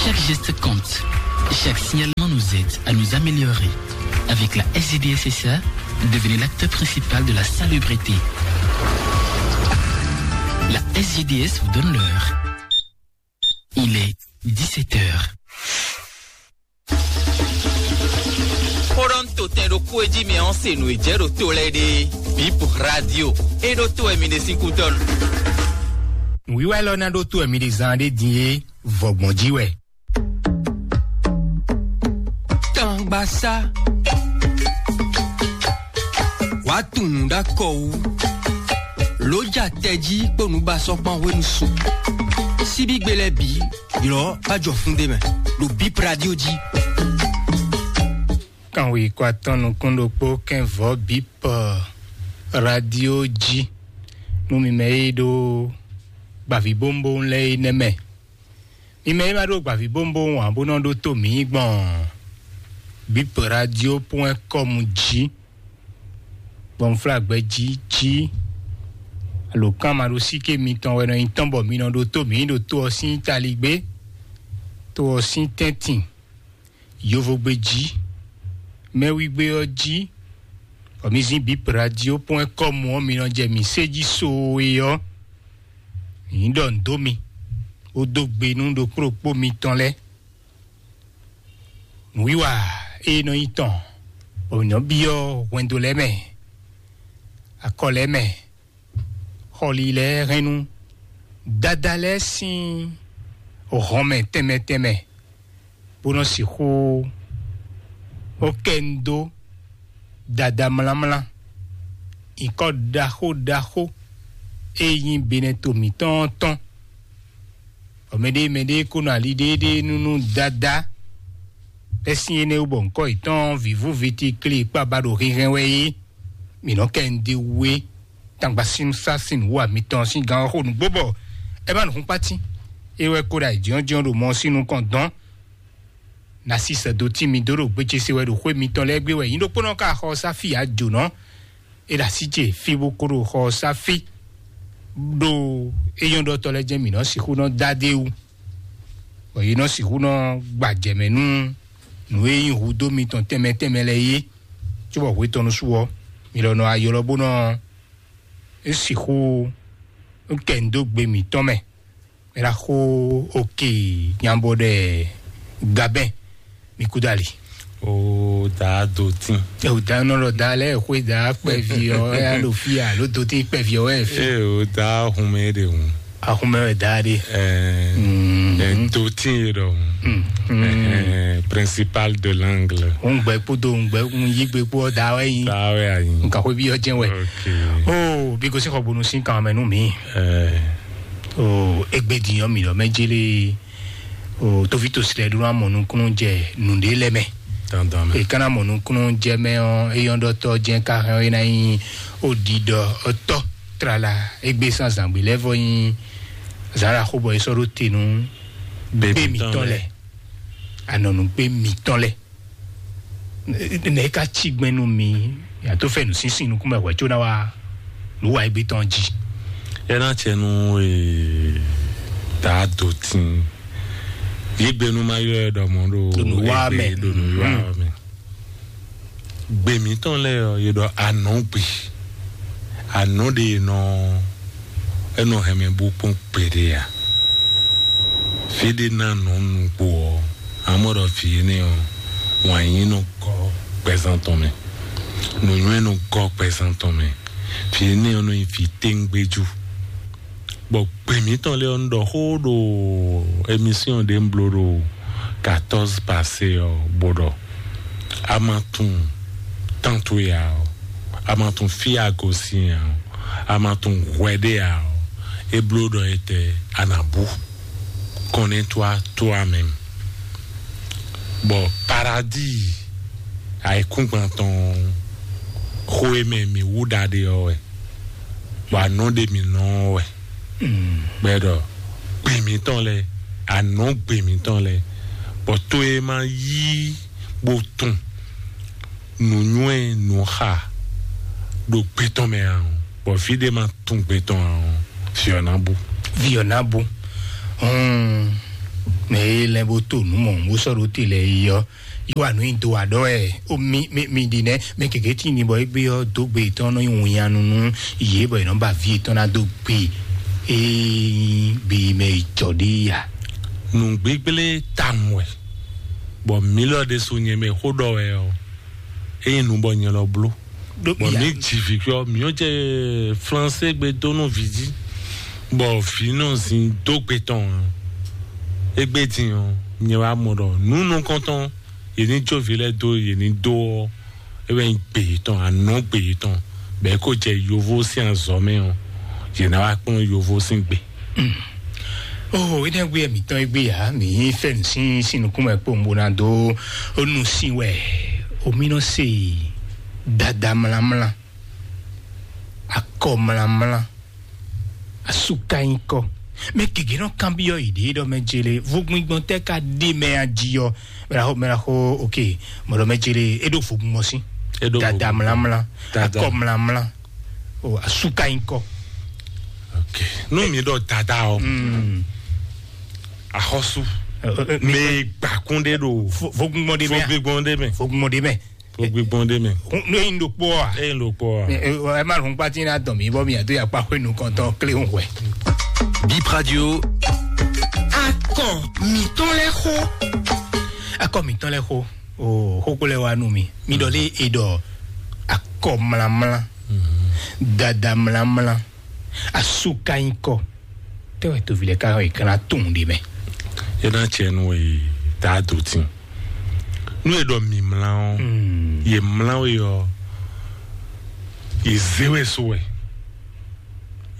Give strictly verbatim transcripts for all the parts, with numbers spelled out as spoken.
Chaque geste compte. Chaque signalement nous aide à nous améliorer. Avec la S G D S S A, devenez l'acteur principal de la salubrité. La S G D S vous donne l'heure. Il est dix-sept heures. Xó ɖɔ nú totɛn ɖokpó e jí mi ɔ́ se nǔ e jɛ ɖo to lɛ́ɛ ɖe. Bip radio. É ɖó to wɛ mi ɖe sín kútɔ́ nu. Nǔwiwa élɔ́ ná ɖó tó wɛ mi ɖe zan ɖé din é, vɔgbɔn jí wɛ. Tangbasá. Wàá tunnu ɖó akɔ wú. Lójà tɛjí kpó nǔbasɔ́kpán hwenu su. Síbígbe lɛ́ɛ bǐ, ylɔ̌ bá jɔ fún ɖé mɛ, ɖo Bip Radio jí. Kanwe kó atɔ́ nukún ɖokpó kɛnvɔ́ Bip Radio jí. Nú mi mɛ e ɖó gbavǐbówúnbówún lɛ́ɛ é nɛ́ mɛ. Mi mɛ e ma ɖó gbavǐbówúnbówún ǎ bó nɔ ɖótó mǐ gbɔn Bip Radio point com jí. Gbɔnflágbɛjí jí. Alǒkanmaɖósíké mitɔn wɛ nɔ nyí tɔn bɔ mi nɔ ɖótó mǐ ɖo to ɔ́ sín taligbé, to ɔ́ sín tɛ́ntin, yovogbe jí, mɛwígbé ɔ́ jí, bɔ mi zín Bip Radio point com ɔ́, mi nɔ jɛ mǐ sé jí soo é ɔ́, nyǐ ɖɔ nǔ dó mi, bó dó gbe nú ɖokpó ɖokpó mitɔn lɛ́ɛ. Nǔwiwa e nɔ nyí tɔn, bɔ mǐ nɔ byɔ́ hwɛndo lɛ́ɛ mɛ, akɔ lɛ́ɛ mɛ, xɔli lɛ́ɛ hɛn nú dada lɛ́ɛ sín hɔnmɛ tɛnmɛ tɛnmɛ, bó nɔ sixú ó kɛ nu dó dada mlámlá, nyǐkɔ ɖaxó ɖaxó e nyí Benɛto mǐtɔn ɔ́ tɔn. Bɔ mɛɖée mɛɖée ko nɔ ali ɖéeɖée nú nú dada, bɛ́ sín énɛ́ wú bɔ ŋkɔ́ yětɔn vǐvú viti kli kpaba ɖo hinhɛn wɛ é. Mǐ nɔ kɛ nǔɖé wú é, tangbasin sá sin wú amitɔn sín gán ɔ́ xo nǔgbó bɔ é má nǔ hún kpátín. É wɛ kó ɖo ayǐjínjɔ́n ɖo mɔ sín nukɔn dɔn. Ná sí sɛ́dó tín mi dó ɖo gbéjé se wɛ ɖo xwé mitɔn lɛ́ɛ gbé wɛ nyí ɖokpónɔ ká xɔ sáfì ajǒnɔ. É ɖo así ce fí bó kó ɖo xɔ sáfì ɖo éyɔ́ndɔtɔ́ lɛ́ɛ jɛ́n mǐ nɔ sixú nɔ dó adé wú, bɔ yě nɔ sixú nɔ gbajɛmɛ nú nǔ e nyí hudó mitɔn tɛnmɛ tɛnmɛ lɛ́ɛ é. Cóbɔ hwetɔ́nu su ɔ́, mi lɔ nɔ aylɔ bó nɔ sixú kɛ nu dó gbe mǐtɔn mɛ. Mɛ ɖaxó oke nyabɔ ɖɛ gabɛn mi kú dali. O da do tin. Ɛ o da nɔ lɔ da lɛ xwe da kpɛvi ɔ ya ɖo fi alo do tin kpɛvi ɔ wɛ fi. E o da hunmɛ de hun. Ahunmɛ wɛ da de. Ɛ ɛ do tin ye dɔ hun. Ɛ principal de l'angle. Ŋgbɛ kpódó ŋgbɛ ŋyigbe kpó da wɛ yin. Da wɛ ayin. Nka xwe bi ɔ jɛ wɛ. Ok. O bi gosi xɔ bonu sin kan mɛ nu mi. Ɛ. O egbe diyan mi lɔ mɛ jele. O tovi to srɛ ɖó amɔ nukúnnú jɛ nǔɖé lɛ mɛ. Dandan mɛ. E kana mɔ nukúnnú jɛ mɛ ɔ, eyɔn ɖɔtɔ jɛ ka hɛn ɔ, e na nyi o ɖiɖɔ ɔtɔ trala egbe san zangbe lɛ vɔ nyi zara xo bɔ e sɔ ɖo te nú gbe mitɔn lɛ, anɔnu gbe mitɔn lɛ. Nɛ e ka ci gbɛn nú mi, ya tó fɛ nǔsínsín nukún mɛ hwɛ có ná wá lǔ wa égbé tɔn jí. Ena cɛ nu ee daa do tin. Yi gbe nu ma yɔ ɛ ɖɔ mɔ ɖo Ɖo nǔ wa mɛ. Ɖo nǔ wa mɛ. Gbe mǐtɔn lɛ́ɛ ɔ́, yě ɖɔ anɔ̌ gbe. Anɔ̌ ɖe e nɔ e nɔ hɛn mɛ bó kpɔ́n gbeɖé ǎ. Fí ɖé ná nɔ nugbo ɔ́, amɔ́ ɖɔ vǐ énɛ́ ɔ́, wǎn yí nɔ gɔ́ gbɛzán tɔn mɛ. Nǔnywɛ́ nɔ gɔ́ gbɛzán tɔn mɛ. Vǐ énɛ́ ɔ́ nɔ nyí vǐ téŋgbéjú. Bɔ gbe mǐtɔn lɛ́ɛ ɔ́, un ɖɔ xó ɖo émission ɖé un bló ɖo quatorze passé ɔ́, bó ɖɔ a ma tunwun tán towe ǎ ɔ́, a ma tunwun fí a gosín ǎ ɔ́, a ma tunwun hwɛ ɖé ǎ ɔ́, é bló ɖɔ etɛ́ a nǎ bú. Connais-toi toi-même. Bɔ paradis ayǐkúngban tɔn xó e mɛ mǐ wú ɖaɖe ɔ́ wɛ, bɔ anɔ̌ ɖe mǐ nɔ ɔ́ wɛ. Gbɛ ɖɔ gbe mǐtɔn lɛ́ɛ, anɔ̌ gbe mǐtɔn lɛ́ɛ, bɔ to e ma yí bó tun nǔnywɛ́ nǔxa ɖo gbe tɔn mɛ ǎ, bɔ vǐ ɖé ma tun gbe tɔn ǎ, vǐ ɔ́ ná bú. Vǐ ɔ́ ná bú. Hmm. Mɛ e lɛ́ bó to nǔ mɔ̌ bó sɔ́ ɖó te lɛ́ɛ yi ɔ́, yi wa nǔ nyi do wa ɖɔ wɛ. Ó mi mi mi ɖi nɛ́ mɛ gěgé tí ni bɔ égbé ɔ́ dó gbe yětɔn nɔ nyi winnyanu nú yě bɔ yě nɔ ba vǐ yětɔn ná dó gbe. Ee gbe yi mɛ yi jɔ ɖe ya. Nǔgbígblé tawun wɛ, bɔ mǐ lɔ ɖésú nyɛ mɛ xó ɖɔ wɛ ɔ́, ényí nu bɔ nyɛ lɔ bló. Bɔ mǐ ji vǐ ɔ́, mǐ ɔ́ jɛ flansé gbe dó nú vǐ jí, bɔ vǐ nɔ zin dó gbe tɔn ǎ. Égbé din ɔ́, nyɛ wá mɔ ɖɔ nǔ nukɔntɔn yě ní jó vǐ lɛ́ɛ dó yě ní dó ɔ́, é wɛ nyí gbe yětɔn, anɔ̌ gbe yětɔn, bɔ é ko jɛ yovo sín azɔ̌ mɛ ɔ́, yě ná wá kplɔ́n yovo sín gbe. Oh, énɛ́ gbé mǐtɔn é gbé ǎ, mǐ fɛ́ nǔ sín sín nukúnmɛ kpowun bó ná dó ó nu sín wɛ. Omi nɔ se dada mlamla, akɔ mlamla, asuka nyikɔ. Mɛ gěgé nɔ kanbyɔ́ yěɖée ɖɔ mɛ jele vogbingbɔn tɛ ka ɖe mɛ a jí ɔ? Mɛ la xo mɛ la xo ok. Mɔdɔ mɛ jele é ɖo vogbingbɔn sín. É ɖo dada vogbingbɔn. Mlamla, dada, akɔ mlamla, o asuka nyikɔ. Ok. Nú mi ɖɔ dada ɔ, mm, axɔsu, eh, eh, mi mɛ gbakun ɖe ɖo vogbingbɔn ɖe mɛ a? Vogbingbɔn ɖe mɛ. Vogbingbɔn ɖe mɛ. Gbígbɔn ɖé mɛ. Nú eyin ɖokpó a? Eyin ɖokpó a? Ɛ má lɔn kpatí ná dɔn mí bɔ mí adó yakpa xwé nukɔntɔn kléhùn hwɛ. Bip Radio. Akɔ mǐtɔn lɛ́ xó. Akɔ mǐtɔn lɛ́ xó. O xókó lɛ́ wá nú mi. Mi ɖɔ lé e ɖɔ akɔ mlamla, dada mlamla, asuka nyikɔ. Tɛ́ wɛ toví lɛ́ɛ ká wɛ kan ná tunwun ɖe mɛ? É ná cɛ nú e daa dó tín. Nú e ɖɔ mǐmlá ɔ́, yě mlá we ɔ́, yě zé we so wɛ.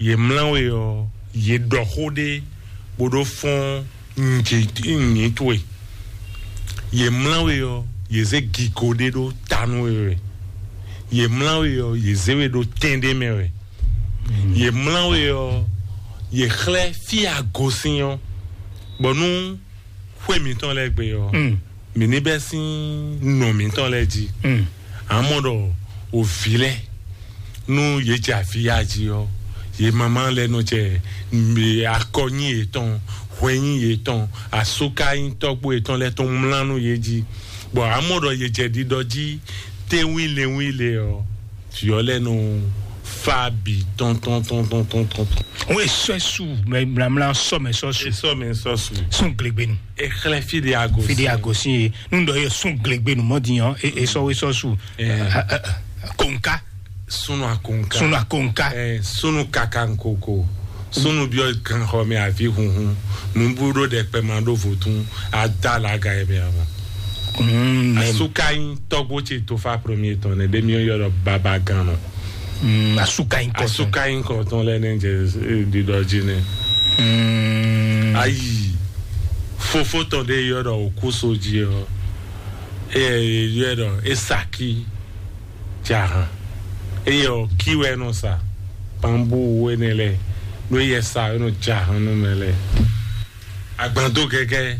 Yě mlá we ɔ́, yě ɖɔ xó ɖé bó ɖó fɔ́n nyǐ towe. Yě mlá we ɔ́, yě zé gigo ɖé ɖó ta nú we wɛ. Yě mlá we ɔ́, yě zé we ɖó tɛn ɖé mɛ wɛ. Yě mlá we ɔ́, yě xlɛ́ fí e a gosín ɔ́, bɔ nú xwé mǐtɔn lɛ́ɛ gbe ɔ́, mǐ ní bɛ́ sín nɔ mǐtɔn lɛ́ɛ jí. Amɔ̌ ɖɔ o vǐ lɛ́ɛ, nú yě jɛ avǐ ya jí ɔ́, yě mamá lɛ́ɛ nɔ jɛ akɔ nyi yětɔn, hwɛ nyi yětɔn, asúka nyi tɔ́gbó yětɔn lɛ́ɛ tɔn mlá nú yě jí, bɔ amɔ̌ ɖɔ yě jɛ ɖiɖɔ jí tɛ́nwínlɛnwínlɛ ɔ́, vǐ ɔ́ lɛ́ɛ nɔ fá bǐ tɔ́ntɔ́ntɔ́ntɔ́ntɔ́ntɔ́. Wọ́n esɔ su mɛ mlamla sɔ mɛ sɔ su. Esɔ mɛ sɔ su. Sún glegbenu. Exlɛ fi de agosi. Fi de agosi ye. Nú dɔ ye sún glegbenu mɔ di yàn e sɔ we sɔ su. Konka. Sunu akonka. Sunu akonka. Sunu kakankoko. Sunu biɔ ganxɔmɛ avi hunhun. Nubu ɖo ɖɛkpɛ ma ɖo votun. Ada la ga yɛ bɛ ama. Asuka yin tɔgbo ce tofa premier tɔn ne ɖe mi yɔ ɖɔ baba gan nɔ. Asuka yin kɔtɔn. Asuka yin kɔtɔn lɛ ne jɛ ɖiɖɔ ji ne. Ayi fofo tɔn ɖe yɔ ɖɔ okuso ji ɔ. Eye yɔ ɖɔ esaki jahan. Eye ɔ ki wɛ nɔ sa. Pambu wɛ ne lɛ. No yɛ sa nɔ jahan nɔ mɛ lɛ. Agbando gɛgɛ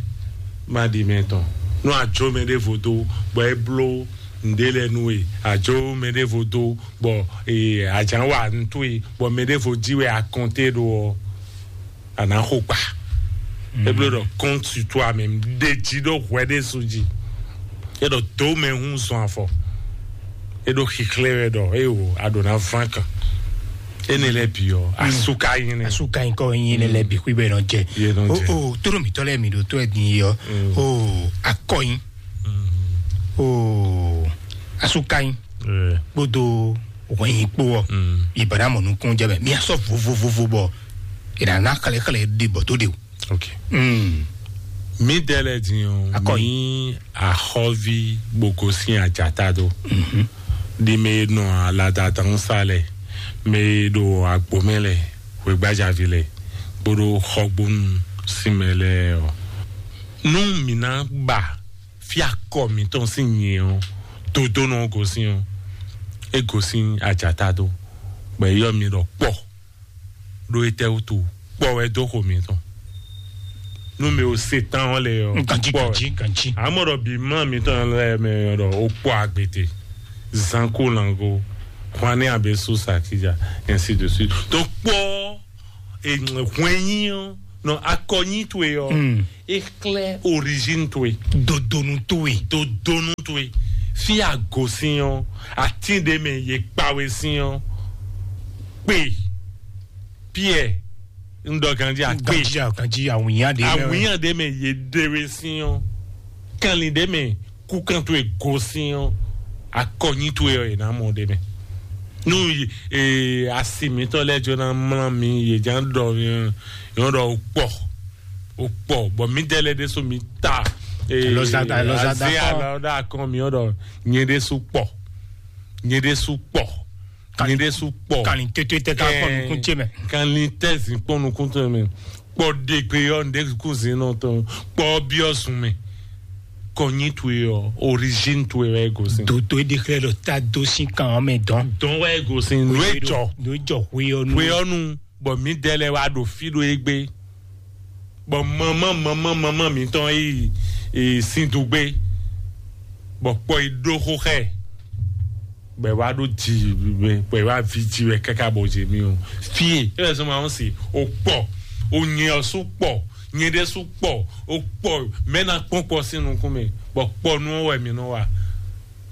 ma ɖi mɛ tɔn. Nú adzo mɛ ɖěvo dó bɔ é bló ǹdé lɛ nú we, adzo mɛ ɖěvo dó bɔ ee àjǎn wa ntu yi bɔ mɛ ɖěvo jí wɛ akɔnté ɖo ɔ, àná xo kpa. É bló ɖɔ kɔn sutu amɛ ɖe jí ɖó hwɛ ɖé su jí. É ɖɔ dó mɛ hún zɔn afɔ. É ɖo xixlɛ wɛ ɖɔ é o aɖo na ván kan. Énɛ́ lɛ́ɛ bǐ ɔ́, asuka nyi nɛ. Asuka nyi kɔ nyi nɛ lɛ bi xwí bɛ nɔ jɛ. Yé nɔ jɛ. O o tóɖó mǐtɔn lɛ mi ɖo tó ɛ din yi ɔ. O akɔ nyi. O asuka nyi. Kpódó wɛnyi kpó ɔ. Ìbàdàn mọ̀ nukún jẹ́ bẹ́ẹ̀ mi asɔ vovovovo bɔ ìdáná xlɛxlɛ de bɔ tó de o. Ok. Mí dɛ lɛ din o. Akɔ mi axɔvi gbogbo sin ajata do. Di me nɔ aladadan sa lɛ, me ɖo agbomɛ lɛ, hwegbajavi lɛ, kpoɖo xɔgbonu sin mɛ lɛ ɔ. Nú mi ná ba fí akɔ mǐtɔn sín nyɛ ɔ, dodónɔ gosín ɔ, é gosín ajata do, bɔ é yɔ mi ɖɔ kpɔ. Ɖó étɛ́ wútu kpɔ wɛ dó xo mǐtɔn? Nú mi ò se tán ɔ́ lɛ ɔ́, ganjí kpɔ wɛ. Ganjí ganjí. Amɔ́ ɖɔ bǐ mlá mǐtɔn lɛ mɛ ɔ́ ɖɔ ó kpɔ agbete, zanko lango, hwanɛ abe so sakija, ainsi de suite. Donc kpɔ hwɛnyí ɔ́, Nɔ akɔnyi towe ɔ, mm, e xlɛ́ origine towe, dodonu towe, dodonu towe. Fi a gosín ɔ, atín ɖe mɛ ye kpawe sín ɔ, kpe, Pierre, un ɖɔ ganji akpe, ganji, ganji awunya ɖe mɛ. Awunya ɖe mɛ ye ɖewe sín ɔ, kanlin ɖe mɛ kukan towe gosín ɔ, akɔnyi towe ɔ, yě ná mɔ ɖe mɛ. Nu ee, asi mǐtɔn lɛ́ɛ jɔ ná mlá mi, yě ján ɖɔ yɔn ɖɔ kpɔ, o kpɔ, bɔ mi dɛ lɛ ɖésú mi ta ee, Alɔzada, alɔzada azé kɔ. Alɔda akɔn mi ɔn ɖɔ nyɛ ɖésú kpɔ, nyɛ ɖésú kpɔ, nyɛ ɖésú kpɔ. Kanlin tete tɛ ká kpɔ nukún ce mɛ. Kanlin tɛ zin kpɔ nukún ce mɛ. Kpɔ ɖegbe yɔ, nɖe kú zin nɔ tɔn, kpɔ biɔ zun mɛ. Kɔnyi towe ɔ, origine towe wɛ gosin. Dodo e ɖe xlɛ ɖɔ ta dó sín kan ɔ́ mɛ dɔn. Dɔn wɛ gosin. Nú e jɔ, nú e jɔ hwe ɔ́ nú. Hwe ɔ́ nu, bɔ mi dɛ lɛ wa ɖo fi ɖo egbe. Bɔ mama mama mama mitɔn yi, yi sin dugbe. Bɔ kpɔ yi ɖó xó xɛ. Bɔ e wa ɖo ji wɛ, bɔ e wa vi ji wɛ káká bɔ jɛ mi o. Fie e wɛ zɔn ma ɔn si o kpɔ, o nyɛ ɔ su kpɔ, nyɛ ɖe su kpɔ, o kpɔ mɛ na kpɔn kpɔ sin nukún mɛ, bɔ kpɔ nu ɔ wɛ mi nɔ wa.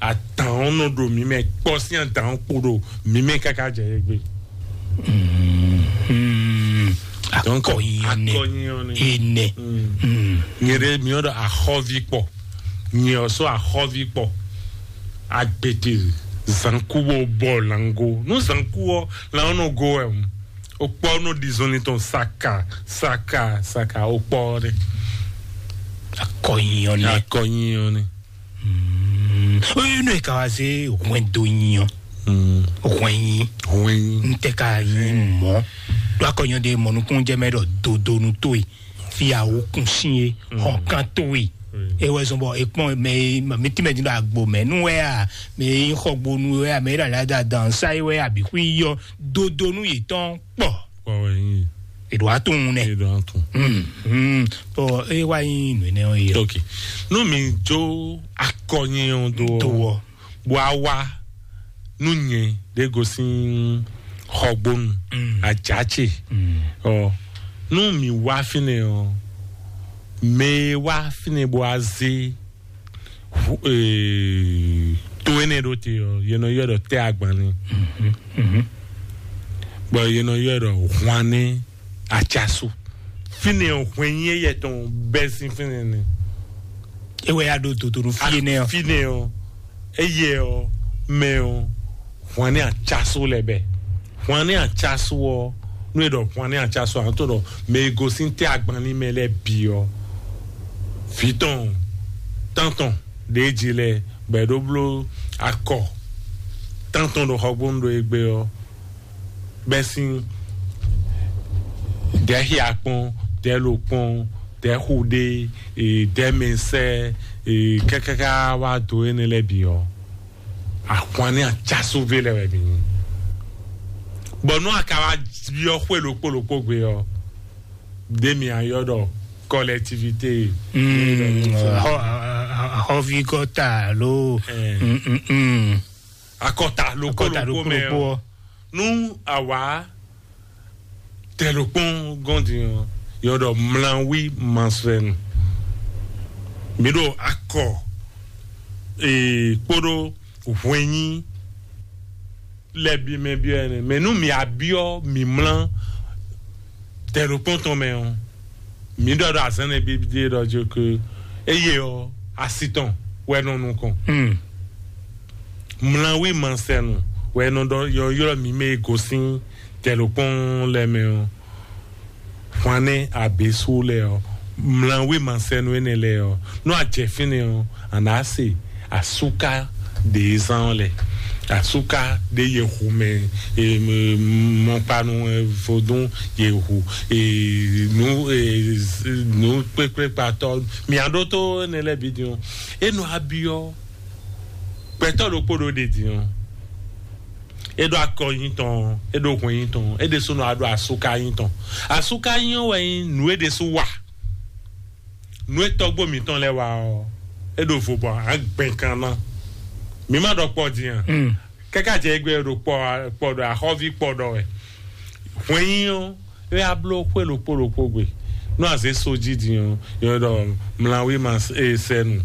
Adǎn ɔ́ nɔ ɖo mǐ mɛ, kpɔ sín adǎn ɔ́ kpo ɖo mǐ mɛ káká jɛ yɛ gbe. Donc, akɔnyi ɔ́ nɛ. Akɔnyi ɔ́ nɛ. Enɛ. Nyɛ ɖe mi ɔ́ ɖɔ axɔ́ví kpɔ, nyɛ ɔ́ sɔ́ axɔ́ví kpɔ, agbete, zankubo bɔ lango, nú zanku ɔ́ lan ɔ́ nɔ go wɛ o kpɔ nɔ ɖi zɔnlin tɔn saka saka saka o kpɔ ɔ́ nɛ. Akɔnyi ɔ́ nɛ. Akɔnyi ɔ́ nɛ. Oyi nɔ ka wá se hwɛndo nyi ɔ. Hwɛnyi. Hwɛnyi. N tɛ ka nyi mɔ. Ɖo akɔnyɔ de mɔ nukun jɛ mɛ ɖɔ dodonu to yi. Fi awo kun si ye. Hɔn kan to yi. E wɛ zɔn bɔ e kpɔn mɛ mi ti mɛ di ɖo agbo mɛ nu wɛ a, mɛ yi xɔ gbonu wɛ a, mɛ yi ɖo ala da dan sa yi wɛ a, bi xwi yɔ dodonu yi tɔn kpɔ. Kpɔ wɛ nyi. Eɖo atun nɛ. Eɖo atun. Bɔn e wa nyi nu enɛ ɔ yi. Ok. Nu mi jo akɔnyi ɔ do. Do wɔ. Bɔ a wa nu nyɛ ɖe gosin xɔgbonu. Ajace. Ɔ nu mi wa finɛ ɔ, mɛ wa finɛ bɔ a ze to énɛ́ ɖó te ɔ, yě nɔ ylɔ́ ɖɔ tɛ́ agban ní. Bɔ yě nɔ ylɔ́ ɖɔ hwanní acasu. Fínɛ ɔ, hwɛnyí éyɛ tɔn bɛ́ sín fínɛ ní. E wɛ ya ɖo dodonu fíe nɛ ɔ. Fínɛ ɔ, éyɛ ɔ, mɛ ɔ, hwanní acasu lɛ bɛ. Hwanní acasu ɔ, nú e ɖɔ hwanní acasu ɔ, a nɔ to ɖɔ mɛ e gosín tɛ́ agban ní mɛ lɛ́ɛ bǐ ɔ, vǐ tɔn, tán tɔn ɖě jí lɛ bɔ è ɖó bló akɔ tán tɔn ɖo xɔgbónu ɖo égbé ɔ́, bɛ́ sín dɛ̌ xia kpɔ́n, dɛ̌ lo kpɔ́n, dɛ̌ xu ɖé, dɛ̌ mɛ sɛ́, kákáká wá dó énɛ́ lɛ́ɛ bǐ ɔ́, ahwan ní acásúvé lɛ́ɛ wɛ mǐ nyí. Bɔ nú a ka wá byɔ́ xwé ɖokpó ɖokpó gbe ɔ́, ɖé mi ayɔ ɖɔ kɔlɛtivité. Xɔvi kɔta alo akɔta lóko lóko mɛ ɔ, nú àwa tɛlokpɔn gɔndi ɔ, yɔ ɖɔ mlawí masrɛnu. Mi ɖo akɔ ee kpóɖó hwɛnyí lɛ bi mɛ biɔ ɛnɛ, mɛ nú mi abiɔ mi mlá tɛlokpɔn tɔn mɛ ɔ, mi ɖɔ ɖɔ azɛnɛ bi de ɖɔ jo ke eye ɔ asi tɔn wɛ nɔ nukɔn. Mlawí masɛnu wɛ nɔ ɖɔ yɔ ylɔ mi mɛ e gosín tɛlokpɔn lɛ mɛ ɔ, hwanɛ abesu lɛ ɔ, mlawí masɛnu enɛ lɛ ɔ, nú ajɛ fínɛ ɔ, a nǎ se asúká ɖě zán ɔ́ lɛ, asúká ɖě yě hu mɛ, mɔkpanu vodún yě hu, nú nú kpékpékpatɔ mia ɖótó enɛ lɛ́ɛ bǐ din ɔ́, é nɔ abyɔ́ gbɛtɔ́ ɖokpó ɖo ɖě din ɔ́, é ɖo akɔ nyi tɔn, é ɖo hwɛn nyi tɔn, é ɖésúnɔ aɖo asúká nyi tɔn. Asúká nyi ɔ́ wɛ nyí nǔ é ɖésú wa. Nǔ e tɔ́gbó mǐtɔn lɛ́ɛ wa ɔ́, é ɖo vo bɔ a gbɛn kan ná. Mǐ ma ɖɔ kpɔ din a? Káká jɛ égbé ɖo kpɔ kpɔ ɖɔ axɔ́ví kpɔ ɖɔ wɛ. Hwɛnyí ɔ́, é wá bló xwé ɖokpó ɖokpó gbe. Nú a zě so jí din ɔ́, yɔ ɖɔ mlawí ma e sɛnu.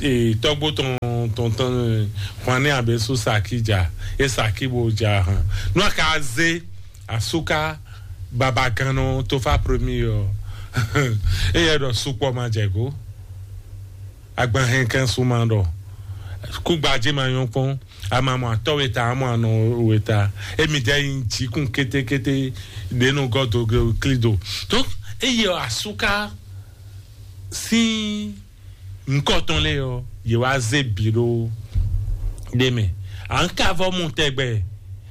E tɔgbo tɔn tɔn tɔn hwanni abe su saki ja, e saki bo ja hàn. Nú a ka zé asuka babagannɔ tofa premier ɔ́, e yɛ ɖɔ sukpɔ ma jɛ go. Agban hɛn kɛn su ma ɖɔ kúgbajé ma nyɔ́ kpɔ́n. Ama mɔ atɔ́ weta, amɔ anɔ weta. Emi ɖe yin jikun kétékété ɖe nɔ gɔ́ do ge kli do. Donc eye asuka sín nukɔ tɔn lé ɔ́, yě wá zé bǐ ɖó ɖé mɛ. À ń ká vɔ mu tɛgbɛ.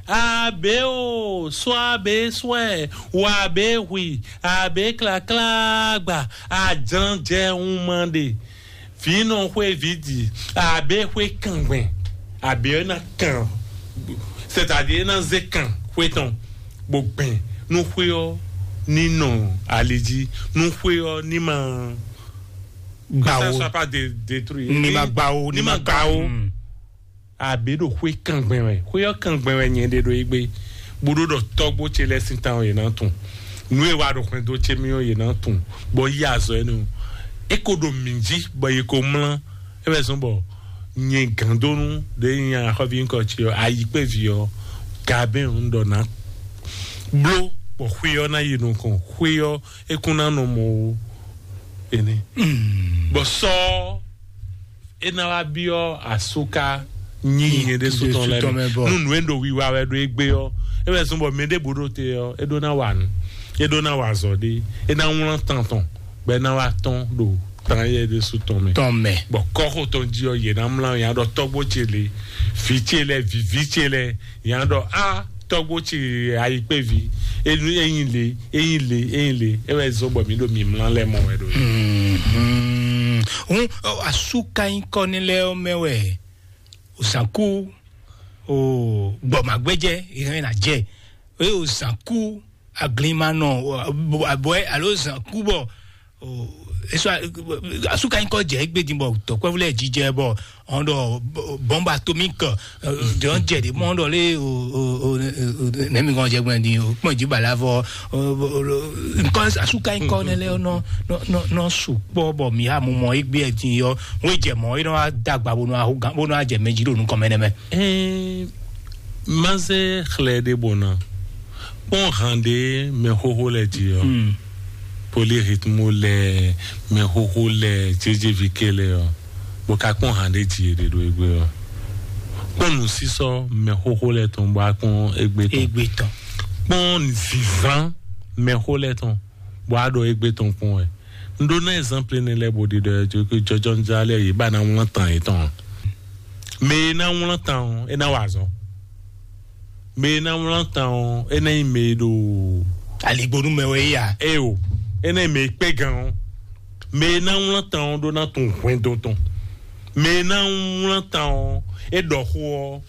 Abe o, sɔ abe sɔɛ, wɔ abe hui, abe klaklagba, ajlan jɛ hun ma ɖe. Vǐ nɔ xwé vǐ di, abe xwé kangbɛn, abe ɔ́ ná kan, c'est-à-dire é ná zé kan xwé tɔn, bó gbɛn nú xwé ɔ́ ní nɔ ali jí, nú xwé ɔ́ ní ma Gbawo. Ça soit pas dé-, détruit. Ní ma gbawo, ní ma gbawo. Mm. Abe ɖo xwé kangbɛn wɛ, xwé ɔ́ kangbɛn wɛ nyɛ ɖe ɖo égbé, bó ɖó ɖɔ tɔ́gbó ce lɛ́ɛ sín tán ɔ́ yě ná tun. Nǔ e wa ɖo xwɛndo ce mì ɔ́ yě ná tun, bɔ yí azɔ énɛ́ ɔ́. É ko ɖo mǐ jí bɔ yě ko mlá. É wɛ zɔ́n bɔ nyɛ gǎndónú ɖě nyí axɔ́ví nyíkɔ ce ɔ́, ayǐkpéví ɔ́, gabɛ́n ɔ́ un ɖɔ ná bló bɔ xwé ɔ́ ná yi nukɔn, xwé ɔ́ é kún ná nɔ mɔ ó. Énɛ́. Bɔ sɔ ɔ́, é ná wá byɔ́ asúká nyí nyɛ ɖésú tɔn lɛ́ɛ mɛ. Nú nǔ e ɖo wiwa wɛ ɖo égbé ɔ́, é wɛ zɔ́n bɔ mɛ ɖěbǔ ɖo te ɔ́, é ɖó ná wa nǔ, é ɖó ná wa azɔ̌ ɖé, é ná wlán tan tɔn, bɔ é ná wá tɔ́n ɖo tan éyɛ́ ɖésú tɔn mɛ. Tɔn mɛ. Bɔ kɔ́xo tɔn jí ɔ́, yě ná mlá nya ɖɔ tɔ́gbó ce lě, vǐ ce lɛ́ɛ, vǐví ce lɛ́ɛ, nya ɖɔ á tɔ́gbó ce ayikpéví, é nyi lě, é nyi lě, é nyi lě, é wɛ zɔ́n bɔ mǐ ɖo mǐmlá lɛ́ɛ mɔ wɛ ɖo. Hǔn asúká nyí kɔ́ ní lɛ́ɛ ɔ́ mɛ wɛ òsànkú, o gbɔmagbɛjɛ ìhɛn ná jɛ, eye òsànkú aglinmanɔ abɔɛ alo òsànkú bɔ esɔ asúka nyí kɔ jɛ égbé din bɔ tɔkwɛvu lɛ jijɛ bɔ ɔn dɔ bɔmba atomik dɔn jɛ de mɔ dɔ le o o o nɛmi kɔn jɛ gbɛn din o kpɔn ji bala fɔ nkɔ asúka nyí kɔ nɛ lɛ nɔ nɔ nɔ sukpɔ bɔ mi ha mu mɔ égbé din yɔ wọ́n jɛ mɔ é nɔ dagba bonu ahu gan bonu ajɛ mɛ jí ɖo nukɔn mɛ nɛ mɛ. Ɛɛ, má zé xlɛ́ ɖé bó ná kpɔ́n han ɖé mɛ xóxó lɛ jí ɔ́, polyrhythmo lɛ, mɛ xóxó lɛ, jéjévike lɛ ɔ́, bó ka kpɔ́n han ɖé jí è ɖe ɖo égbé ɔ́. Kpɔ́n nǔsísɔ mɛ xóxó lɛ tɔn bó wá kpɔ́n égbé tɔn. Égbé tɔn. Kpɔ́n zǐzán mɛ xó lɛ tɔn bó wá ɖo égbé tɔn kpɔ́n wɛ. Un ɖó ná ɛzánplé nɛ́ lɛ́ɛ bó ɖiɖɔ ɛ jó jɔjɔnújá lɛ́ɛ yě ba ná wlán tan yětɔn. Mɛ e ná wlán tan ɔ́, é ná wa azɔ̌. Mɛ e ná wlán tan ɔ́, é ná nyí mɛ e ɖo aligbonu mɛ wɛ yí a? Eo, é ná nyí mɛ e kpé gan ɔ́. Mɛ e ná wlán tan ɔ́ ɖó ná tunwun hwɛndo tɔn. Mɛ e ná wlán tan ɔ́, é ɖɔ xó ɔ́,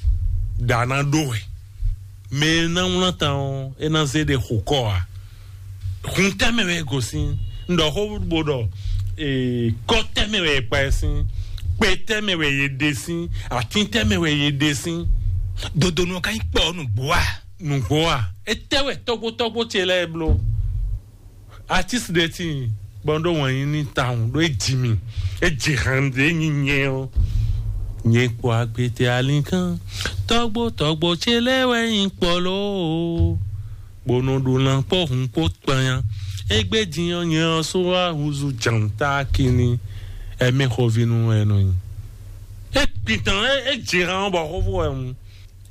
ɖa ná ɖó wɛ. Mɛ e ná wlán tan ɔ́, é ná zé ɖe xo kɔ ǎ. Hun tɛ́ mɛ wɛ è gosín? Un ɖɔ xó bó ɖɔ ee, kɔ tɛ́ mɛ wɛ è kpa ɛ sín? Kpe tɛ́ mɛ wɛ è ɖe sín? Atín tɛ́ mɛ wɛ è ɖe sín? Dodonu ɔ́ ka nyí kpɔ́ nǔgbó a? Nǔgbó a? Etɛ́ wɛ tɔ́gbó tɔ́gbó ce lɛ́ɛ bló? Atísi ɖe tíin bɔ un ɖó wǎn yí ní tawun ɖó é ji mì, é ji han ɖě nyi nyɛ ɔ́. Nyɛ kpɔ agbete alínkán, tɔ́gbó tɔ́gbó ce lɛ́ɛ wɛ nyí kpɔ́ lóó. Bó nɔ ɖo lan kpó hun kpó kpanya. Égbé din ɔ́, nyɛ ɔ́ só wá húzú jǎnta kini. Ɛmɛ xɔvínú wɛ nɔ nyi. É gbintàn é é jǐ hán bɔ xófó wɛ hun.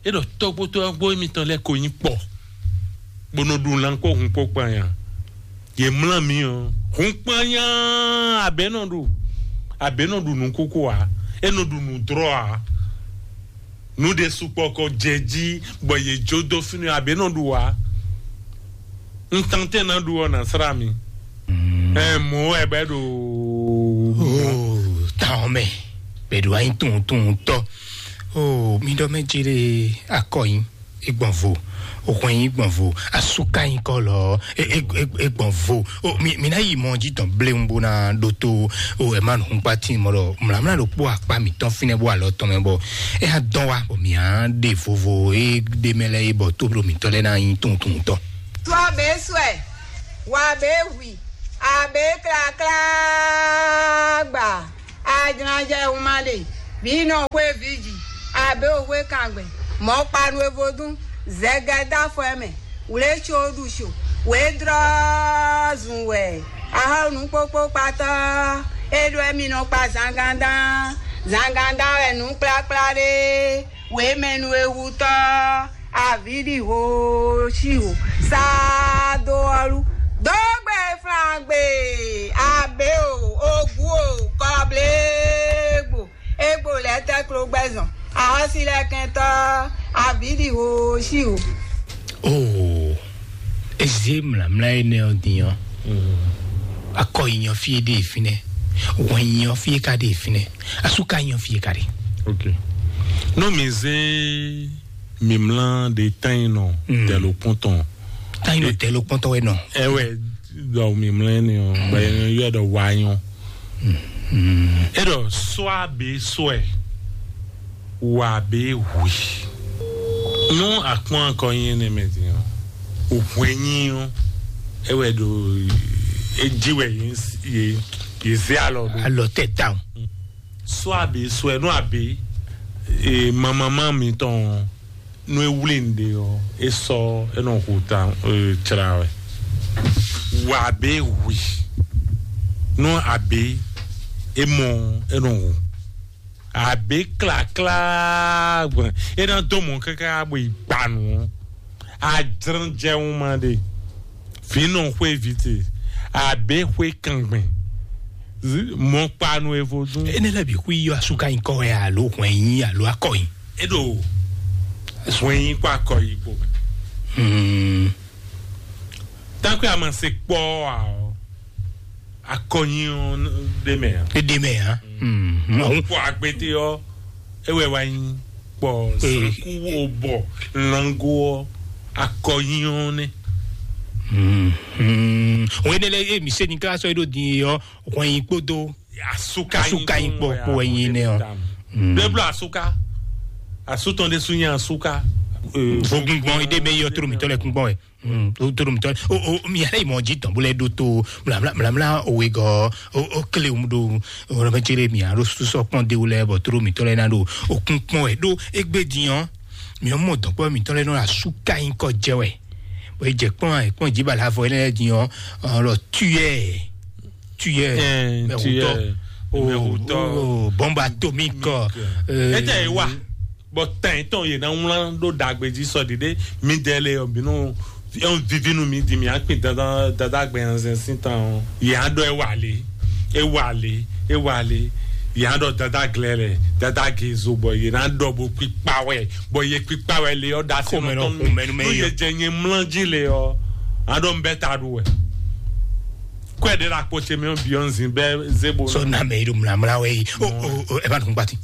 É ɖɔ tɔ́gbótɔ́gbó émitɔn lɛ́ɛ ko nyí kpɔ, bó nɔ ɖu lan kpó hun kpó kpanya. Yě mlá mi ɔ́, hun kpanya abě nɔ ɖu, abě nɔ ɖu nǔkúkú ǎ, é nɔ ɖu nǔdrɔ́ ǎ. Nǔ ɖé sukpɔ kɔ jɛ jí bɔ yě jó dó fínɛ́ abě nɔ ɖu ǎ. Un tantɛ́n ná ɖu ɔ́ nǎ slá mi. Ɛ mɔ̌ wɛ bɛ ɖo. Táwọn mɛ bɛ ɖo anyi tunwun tunwun tɔ. O mi ɖɔ mɛ jere akɔ nyi egbɔn vo, o hwɛn nyi gbɔn vo, asuka nyi kɔ lɔ, egbɔn vo. O mi mi na yi mɔ ji tɔn blewu bo na ɖo to. O ɛ ma nu hun kpa tin mɔ ɖɔ mlamla ɖo kpó akpa mitɔn finɛ bo alɔ tɔn mɛ bɔ ɛ ya dɔn wa bɔ mi a ɖe vovo e ɖe mɛ lɛ e bɔ to ɖo mitɔ lɛ na nyi tunwun tunwun tɔ. Tɔ abe swɛ, wɔ abe hui, Abě klaklá gba, ajlánjɛ wunma ɖe, vǐ nɔ xwé vǐ ji, abě o xwé kangbɛn, mɔ̌ kpanu e vodún, zɛgɛdá fɔ ɛ mɛ, wlé có ɖu có, wě dlɔ́ zun wɛ, axɔ́ nǔ kpókpó kpatɔ́, é ɖó ɛ́ mi nɔ kpa zangandán, zangandán wɛ nǔ kplakplá ɖe, wěmɛnu e hutɔ́, avǐɖihooshího, sáadóɔ́lú, dógbè flangbe, abě o, ogǔ o, kɔblégbo, égbò lɛ́ɛ tɛ́ klogbɛ́zɔn, ahɔ́sílɛ́kɛntɔ́, avǐɖihooshího. Oo, eze mlamla énɛ́ ɔ́ din ɔ́, akɔ yi nyɔ fí é ɖe fínɛ́, wɛn yi nyɔ fí é ka ɖe fínɛ́, asu ka nyɔ fí é ka ɖe. Ok. Nú mi zé mimlá ɖe tán yi nɔ tɛlokpɔn tɔn. Tán yi nɔ tɛlokpɔn tɔn wɛ nɔ. Ɛwɛ, ɖɔ mimlá ni ɔ, bɛ yɔ ɖɔ wanyɔ. E ɖɔ sɔ abe sɔɛ, wa abe hui. Nú akpɔn akɔ nyi ɛnɛ mɛ din ɔ, òhun enyi ɔ, ɛwɛ ɖo edzi wɛ yě zé alɔ ɖo. Alɔ tɛ down. Sɔ abe sɔɛ nú abe mamama mitɔn nú e wlé nɖe ɔ, e sɔ e nɔ hu ta tsra wɛ. Wa abe hui nú abe e mɔ e nɔ hu. Abe klaklá gbɔn e ná dó mɔ káká bɔ yi gba nù ɔ. Ajrɔn jɛ wun ma ɖe. Vǐ nɔ xwé vǐ te, abě xwé kangbɛn, mɔkpanu e vodún. Énɛ́ lɛ́ɛ bǐ xwí yɔ asúka nyí kɔ wɛ alo hwɛn nyí alo akɔ nyí. É ɖo hwɛn nyí kó akɔ yí kpo mɛ. Tákwé a ma se kpɔ́ ǎ ɔ́, akɔ nyí ɔ́ ɖé mɛ ǎ. É ɖé mɛ ǎ. Kpɔ agbete ɔ́, é wɛ wá nyí kpɔ sanku wo bɔ lango ɔ́ akɔ nyí ɔ́ nɛ. Wɛn ɖé lɛ emi se ni ká sɔ ɖo din ɔ wɛn yi kpódó asuka yi kpɔ kpó wɛn yi nɛ ɔ. Bɛbla asuka, asutɔn de su nyɛ asuka. Vogungbɔn ide bɛ yɔ toro mitɔ lɛ kungbɔn wɛ. Toro mitɔ o o mi yàrá ìmọ̀ jí tɔ̀n bó lɛ ɖó tó mlamla mlamla òwe gɔ o o kele mu ɖo o lɔ bɛ jere mi alo susɔ kpɔn de wulɛ bɔ toro mitɔ lɛ na ɖo o kun kpɔn wɛ ɖó egbe diyan mi ɔmɔ dɔkpɔ mitɔ lɛ nɔ asuka yi kɔ jɛ wɛ. Bɔn e jɛ kpɔn ɛ kpɔn jí bala avɔ yɛ lɛ diyan ɔlɔ tuyɛ tuyɛ mɛwutɔ o bɔmba atomik. Ete yi wa bɔ tɛn tɔn yě ná wlán ɖó ɖagbe jí sɔ ɖiɖe mi dɛ lɛ ɔ bínú yɔn vivi nu mi di mi akpin dada dada gbɛ yanzɛn sin tan o yě á ɖɔ ewà lé ewà lé ewà lé yě á ɖɔ dada glɛ lɛ dada gezo bɔ yě ná ɖɔ bo kpikpa wɛ bɔ yě kpikpa wɛ lé ɔ da se nɔ tɔn nu nu yě jɛ nyɛ mlán jí lé ɔ á ɖɔ n bɛ ta ɖu wɛ kɔɛ ɖe la kpɔ tse mi ɔ bi ɔ n zin bɛ zebo. Sɔ na mɛ yi ɖo mlamla wɛ yi o o o ɛ b'a dùn gbati.